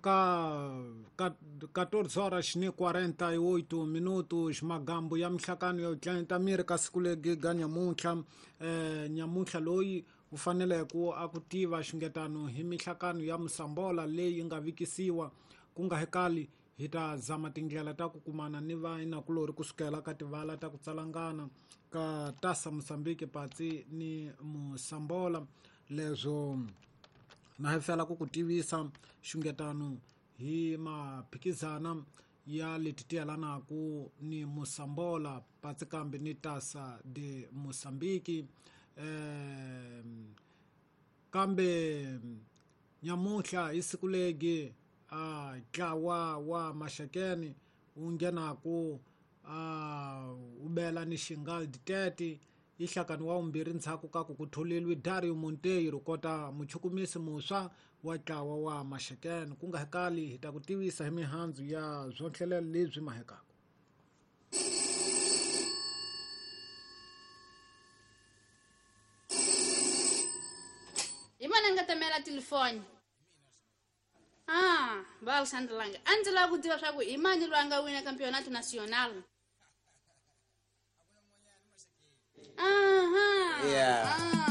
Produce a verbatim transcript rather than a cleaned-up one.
Ka quatorze horas e quarenta e oito minutos, magambo ya mihlakano ya tlanta miri ka siku legi ga nyamuntlha eh nyamuntlha loyi u fanele ku a ku tiva xingetano hi mihlakano ya Mosambola leyi nga vikisiwa ku nga hekali hi ta zama tindlela ta ku kumana ni vainakulori kusukela ka tivala ta ku tsalangana ka Tasa Mozambique patsi ni Mosambola leswo na hi fela ku ku tivisa xungetano hi maphikizana ya leti tiyelanaku ni Mosambola patsi kambe ni Tasa de Mozambique eh kambe nyamuntlha hi siku legi a ntlawa wa Maxakeni wu nghenaku a wu bela ni Xingal ditete i hlakani wa vumbirhi ndzhaku ka ku ku tholeriwe Dario Monteiro kota muchukumisi muswa wa ntlawa wa Maxakeni ku nga hekali hi ta ku tivisa hi mihandzu ya swonhlelelo lebyi mahekaka. Hi mani a nga tamela telefoni? Ah, va Alexandre Langa. A ndzi lava ku tiva swa ku hi mani loyi a nga wina Campeonato Nacional. Aha. Yeah. Ah.